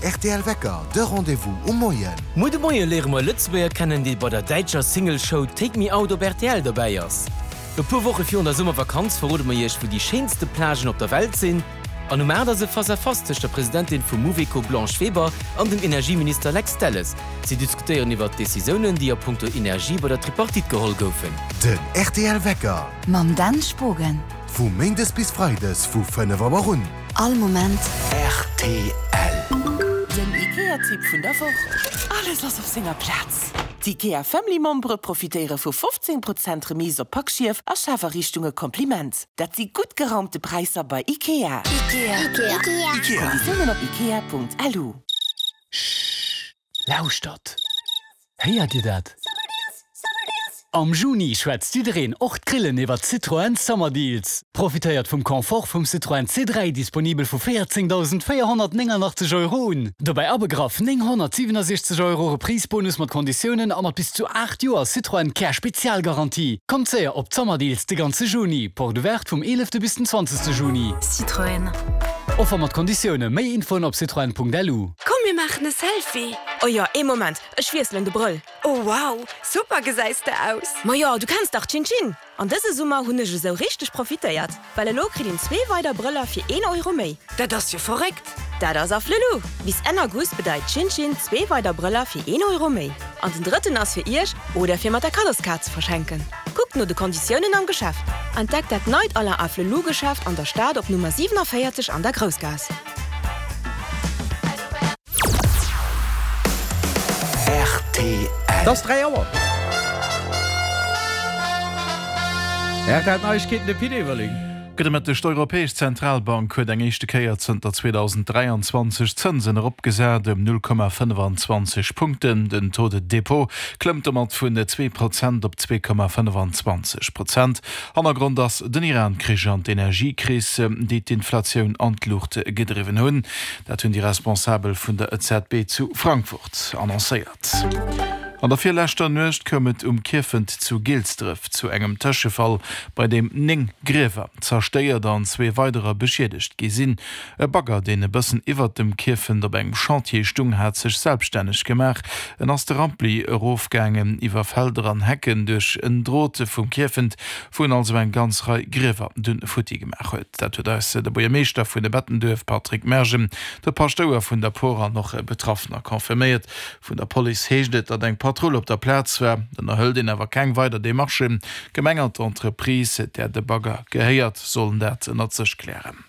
rtl Wecker, de Rendez-vous um Moien. Muer de Moie léiere mer e Lëtzebuerger kennen, dee bei der däitscher Single-Show Take Me Out op rtl dobäi ass. E puer Woche virun der Summervakanz verrode mer iech, wou déi schéinste Plagen op der Welt sinn. An um 8 ass e Face-à-Face tëscht der Presidentin vum Mouveco Blanche Weber an dem Energieminister Lex Delles. Si diskutéieren iwwert d'Decisiounen, déi a punkto Energie bei der Tripartite geholl goufen. Den rtl Wecker. Mam Dan Spogen. Vu Méindes bis Freides vu 5 Auer un. All Moment. Rtl. Den IKEA-Tipp vun der Woch. Alles ass op senger Plaz! D'IKEA Family Membere profitéiere vu 15 Prozent Remise op Packschief a Schafariichtunge Kompliment. Dat si gutt geraumte Präisser bei IKEA. Ikea. Ikea. Konditiounen op ikea.lu. Schhh, lauschtert! Héiert Dir dat? Am Juni schwätzt jiddereen, och d'Grillen, iwwer d'Citroën Summer Deals. Profitéiert vum Confort vum Citroën C3, disponibel vu 14.489 Euro un. Dobäi abegraff 967 Euro Reprise-Bonus mat Konditiounen a mat bis zu 8 Joer Citroën Care Spezialgarantie. Kommt séier op d'Summer Deals de ganze Juni. Porte ouverte vum 11. bis den 20. Juni. Citroën. Offer mat Konditioune. Méi Infoen op citroën.lu. Komm mir maachen e Selfie! Oh jo, ee Moment, ech wiesselen de Brëll. Oh wow, super gesäis de aus! Majo, du kenns dach Chin Chin! An dëse Summer hunn ech esou richteg profitéiert, well elo kritt een zwee weider Brëller fir een Euro méi. Dat ass jo verréckt! Dat ass Afflelou! Bis Enn August bedeit Chin Chin zwee weider Brëller fir een Euro méi. An den drëtten ass fir iech oder fir mat der Kaddoskaart ze verschenken. Kuckt no de Konditiounen am Geschäft. Entdeckt dat neit Alain Afflelou Geschäft an der Stad op Nummer 47 an der Groussgaass. Rtl. Et ass 3 Auer. Rtl Neiegkeeten, de Pit Everling. Gudde Mëtteg. D'Europäesch Zentralbank huet eng éischte Kéier zënter 2023 d'Zënsen eropgesat ëm 0,25 Punkten. Den Taux de dépôt klëmmt domat vun 2 Prozent op 2,25 Prozent. Hannergrond ass den Iran-Krich an d'Energiekris, déi d'Inflatioun an d'Luucht gedriwwen hunn. Dat hunn déi Responsabel vun der EZB zu Frankfurt annoncéiert. An der virleschter Nuecht koum et um Kierfent zu Gilsdref zu engem Tëschefall, bei deem 9 Griewer zerstéiert an zwee weiderer beschiedegt gi sinn. E Bagger, deen e bëssen iwwert dem Kierfent op engem Chantier stung, hat sech selbstänneg gemaach. En ass de Rampli erofgaangen, iwwer Felder an Hecken, duerch en Drot vum Kierfent, wou en also eng ganz Rei Griewer dunn futti gemaach huet. Dat huet eis de Buergermeeschter vun Bettenduerf Patrick Mergen, de Paschtouer vun der Por an och Betraffener confirméiert. Vun der Police heescht et, datt eng Patrull op der Plaz war. Ënnerhëlt een awer keng weider Demarchen. D'Gemeng an d'Entreprise, där de Bagger gehéiert, sollen dat ënnert sech klären.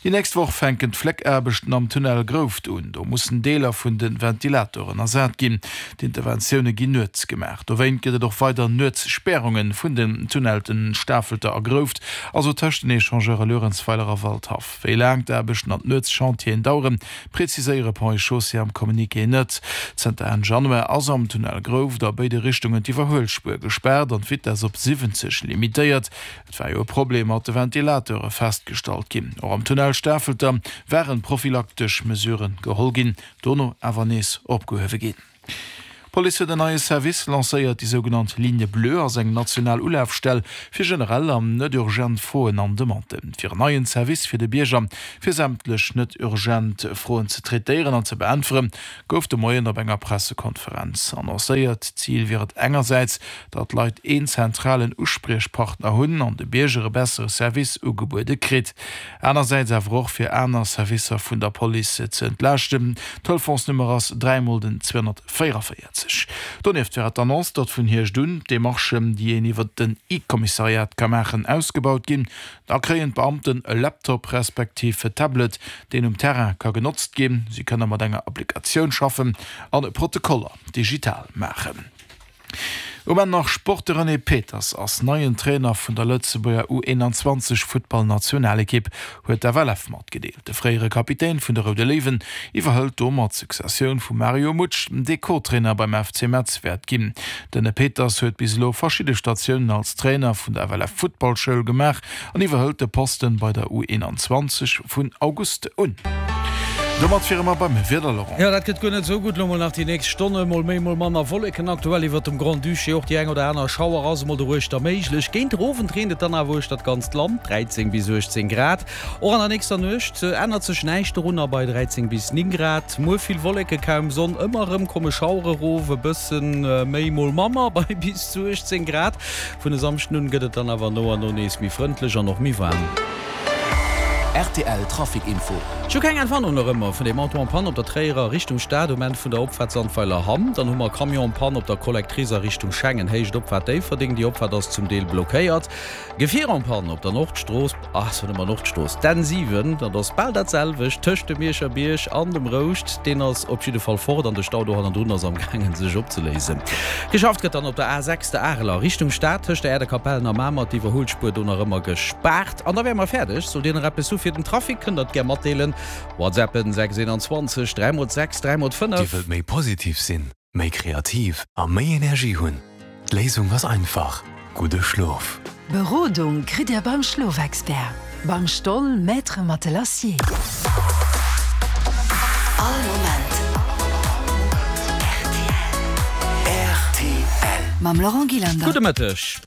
Déi nächst Woch fänken d'Fléckaarbechten am Tunnel Grouft un. Do mussen Deeler vun de Ventilatoren ersat ginn. D'Interventioune ginn nuets gemaach. Dowéint gëtt et och weider Nuetssperrunge vun den Tunnelten Stafelter a Grouft, also tëscht den Echangeure Luerenzweiler a Waldhaff. Wéi laang d'Aarbechten an d'Nuetschantieren daueren, preziséiere Ponts et Chaussées am Communiqué net. Zënter Enn Januar ass am Tunnel Grouft a béide Richtungen d'Iwwerhuelspuer gespaart an d'Vitess op 70 limitéiert. Et war jo e Problem mat de Ventilateure festgestallt ginn. Och am Tunnel Stafelter waren prophylaktesch Mesuren geholl ginn, dono awer nees opgehuewe ginn. D'Police huet en neie Service lancéiert. Déi sougenannt Ligne bleue ass eng national Ulafstell fir generell an net urgent Froen an Demanden. Fir en neien Service fir de Bierger, fir sämtlech net urgent Froen ze traitéieren an ze beäntweren, gouf de Moien op enger Pressekonferenz annoncéiert. Zil wier et engersäits, datt d'Leit een zentralen Uspriechpartner hunn an de Bierger e bessere Service ugebuede kritt. Anersäits awer och fir aner Servicer vun der Police ze entlaaschten. D'Telefonsnummer ass 3 mol den 244. Donieft war et d'Annonce, datt vun Hierscht un d'Demarchen, déi een iwwer den E-Kommissariat ka maachen, ausgebaut ginn. Da kréien d'Beamten e Laptop respektiv e Tablet, deen um Terrain ka genotzt ginn. Si kënne mat enger Applikatioun schaffen an Protokoller digital maachen. Um Enn nach Sport, De René Peters ass neien Trainer vun der Lëtzebuerger U 21 Futtballnationalekipp, huet d'FLF matgedeelt. De fréiere Kapitän vun de Roude Léiwen iwwerhëlt domat d'Successioun vum Mario Mutsch, dee Co-Trainer beim FC Metz wäert ginn. Den Peters huet bis elo verschidde Statiounen als Trainer vun der FLF Futtballschoul gemaach an iwwerhëlt de Posten bei der U 21 vun August un. Domat wiere mer beim Wieder, Laurent. Jo, dat gëtt guer net esou gutt. Lo mol nach déi nächst Stonne, mol méi, mol manner Wolleken aktuell iwwert dem Grand-Duché. Och déi eng oder aner Schauer ass emol doruechter méiglech. Géint der Owend reent et dann awer uechter d'ganzt Land, 13 bis 18 Grad. Och an der nächster Nuecht ännert sech näischt dorunner bei 13 bis 9 Grad. Muer vill Wolleke, kaum Sonn, ëmmer erëm komme Schauere erof, e bësse méi, mol manner bei bis zu 18 Grad. Vun e Samschden un gëtt et dann awer no an no nees méi frëndlech an och méi waarm. Rtl Trafic Info. Ech hu keng Entwarnung nach ëmmer vun deem Auto en panne op der Tréierer Richtung Stad um Enn vun der Opfaart Sandweiler Hamm. Dann hu mer e Camion en panne op der Collectrice a Richtung Schengen, Héicht Opfaart Déifferdeng. Déi Opfaart ass zum Deel blockéiert. Gefier en panne op der Nordstrooss, ah soe mer Nordstrooss, d'N 7, dat ass bal dat selwecht, tëscht dem Mierscher Bierg an dem Rouscht. Deen ass op jidde Fall fort an de Stau do hannendrun ass am gaangen sech opzeléisen. Geschafft gëtt dann op der A 6, der Arel a Richtung Stad, tëscht der Äerdekapellen a Mamer, d'Iwwerhuelspuer do nach ëmmer gespaart. An da wäre mer fäerdeg. Sollt Dir nach eppes hu fir den Trafic, kënnt der et gär matdeelen. WhatsAppen 6 21 3 mol 6 3 mol 5. Dir wëllt méi positiv sinn? Méi kreativ a méi Energie hunn? D'Léisung ass einfach, gudde Schlof! Berodung kritt Dir beim Schlofexpert, beim Stoll Maître Matelassier. All Moment rtl. Mam Laurent Gillander. Gudde Mëtteg.